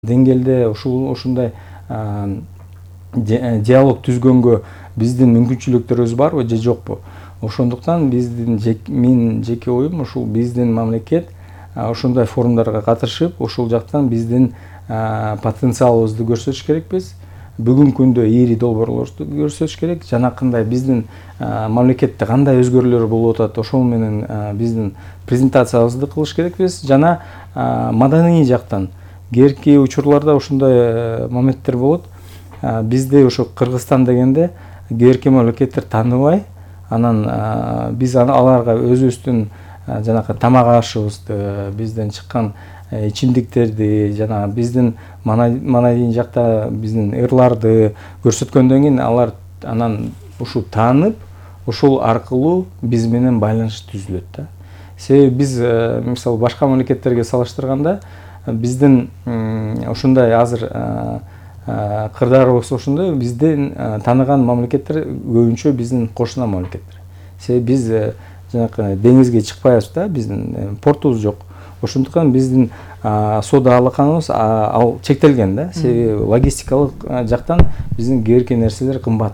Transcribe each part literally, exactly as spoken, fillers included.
деңгээлде ушул ушундай диалог түзгөнгө биздин мүмкүнчүлүктөрүбүз барбы же жокпу? Ошондуктан биздин мен жеке оюм ушул биздин мамлекет ошондой форумдарга катышып, ушул жактан биздин потенциалыбызды көрсөтүш керекпиз. Бүгүнкү күндө ири долбоорлорду көрсөтүш керек. Жанакындай биздин мамлекетте кандай өзгөрүүлөр болуп атат, ошол менен биздин презентациябызды кылыш керекпиз. Жана маданий жактан кээрки учурларда ушундай моменттер болот. Бизде ошо Кыргызстан дегенде кээрки мамлекеттер тааныбай, анан биз аларга өзүбүздүн жанакы тамак ашыбызды, бизден чыккан ичимдиктерди жана биздин манайын жакта биздин ырларды көрсөткөндөн кийин алар анан ушул таанып, ушул аркылуу биз менен байланыш түзүлөт да. Себеби биз мисалы башка мамлекеттерге салыштырганда биздин ушундай азыр кырдаалыбыз ошондой, биздин тааныган мамлекеттер көбүнчө биздин кошуна мамлекеттер. Себеби биз жанакы деңизге чыкпайбыз да, биздин портубуз жок. Ошондуктан биздин соода алаканыбыз ал чектелген да. Себеби логистикалык жактан биздин кээрки нерселер кымбат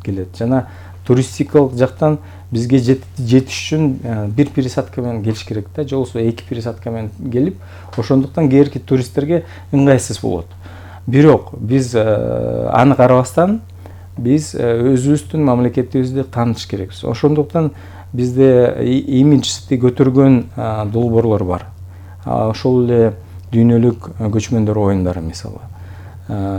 келет. Жана туристикалык жактан бизге жетиш үчүн бир пересадка менен келиш керек да, же болбосо эки пересадка менен келип, ошондуктан кээрки туристтерге ыңгайсыз болот. Бирок биз аны карабастан биз өзүбүздүн мамлекетибизди таанытыш керекпиз. Ошондуктан бизде имиджди көтөргөн долбоорлор бар. Ошол эле дүйнөлүк көчмөндөр оюндары мисалы.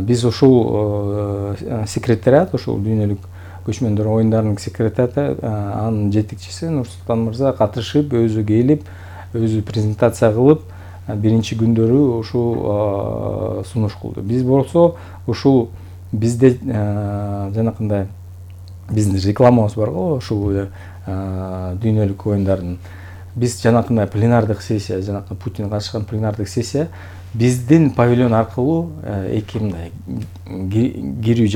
Биз ушул секретариат, ушул дүйнөлүк көчмөндөр оюндарынын секретариаты, анын жетекчиси Нурсултан мырза катышып, өзү келип, өзү презентация кылып, биринчи күндөрү ушул сунуш кылды. Биз болсо ушул бизде жанакындай биздин рекламабыз бар го, ушул дүйнөлүк оюндардын. Биз жанакындай пленардык сессия, жанакы Путин катышкан пленардык сессия биздин павильон аркылуу эки мындай кирүү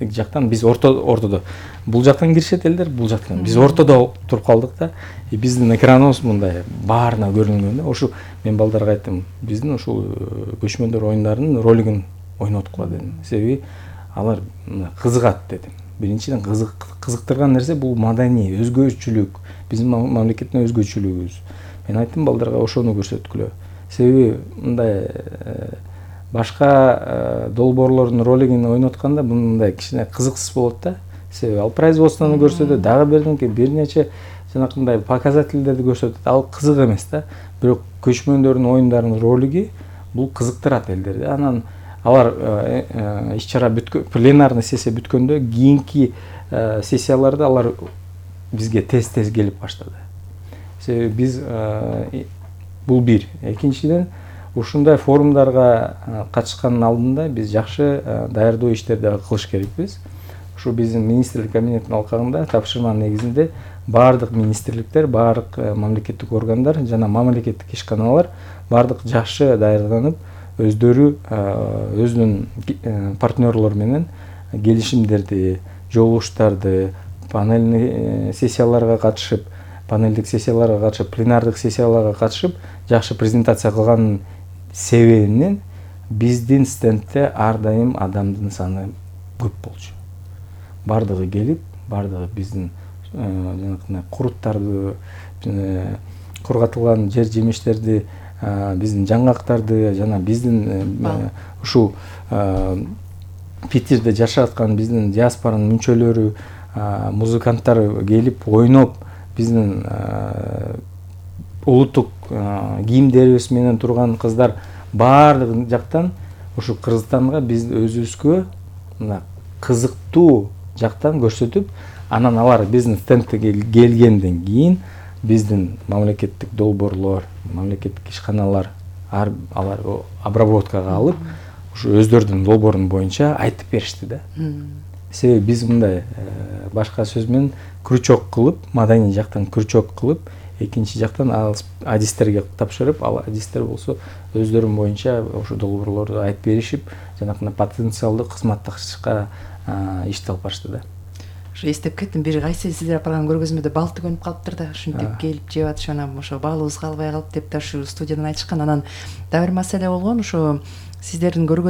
жактан биз ортодо. Бул жактан киришет элдер, бул жактан. Биз ортодо туруп калдык да. Биздин экраныбыз мындай баарына көрүнгөн да. Ошо мен балдарга айттым, биздин ушул көчмөндөр оюндарынын ролигин ойноткула дедим. Себеби алар кызыгат дедим. Биринчиден кызыктырган нерсе бул маданий, өзгөчөлүк, биздин мамлекеттин өзгөчөлүгүбүз. Мен айттым балдарга ошону көрсөткүлө. Себеби мындай башка долбоорлордун ролигин ойнотканда мындай кичине кызыксыз болот да. Себеби ал производствону көрсөтөт, дагы бирденке бир нече жанакындай показательдерди көрсөтөт. Ал кызык эмес да. Бирок көчмөндөрдүн оюндарынын ролиги бул кызыктырат элдерди. Анан алар иш-чара бүткөн, пленарный сессия бүткөндө кийинки сессияларда алар бизге тез-тез келип баштады. Себеби биз бул бир. Экинчиден, ушундай форумдарга катышкандын алдында биз жакшы даярдоо иштерди кылыш керекпиз. Ушу биздин министрлик кабинетинин алкагында тапшырманын негизинде баардык министрликтер, баардык мамлекеттик органдар жана мамлекеттик ишканалар баардык жакшы даярданып, өздөрү өзүнүн партнерлор менен келишимдерди, жолугуштарды, панельный сессияларга катышып, панелдик сессияларга катышып, пленардык сессияларга катышып, жакшы презентация кылганын себебинен биздин стендте ар дайым адамдын саны көп болчу. Бардыгы келип, бардыгы биздин жанакындай куруттарды, кургатылган жер жемиштерди, биздин жаңгактарды жана биздин ушул Питерде жашап аткан биздин диаспоранын мүнчөлөрү, музыканттар келип ойноп, биздин улуттук кийимдерибиз менен турган кыздар баардык жактан ушу Кыргызстанга биз өзүбүзгө мына кызыктуу жактан көрсөтүп, анан алар биздин стендке келгенден кийин биздин мамлекеттик долбоорлор, мамлекеттик ишканалар алар обработкага алып, ушу өздөрүнүн долбоорун боюнча айтып беришти да. Себеби биз мындай башка сөз менен крючок кылып, маданий жактан крючок кылып, экинчи жактан ал адистерге тапшырып, ал адистер болсо өздөрүнүн боюнча ошо долбоорлорду айтып беришип, жанакындай потенциалдуу кызматташка ишти алып барышты да. Ошо эстеп кеттим, бир кайсы сиздер апарган көргөзмөдө бал төгөнүп калыптыр да, ушинтип келип жеп атышып, анан ошо балыбыз калбай калып деп да ушу студиядан айтышкан. Анан дагы бир маселе болгон, ошо сиздердин көргөзмө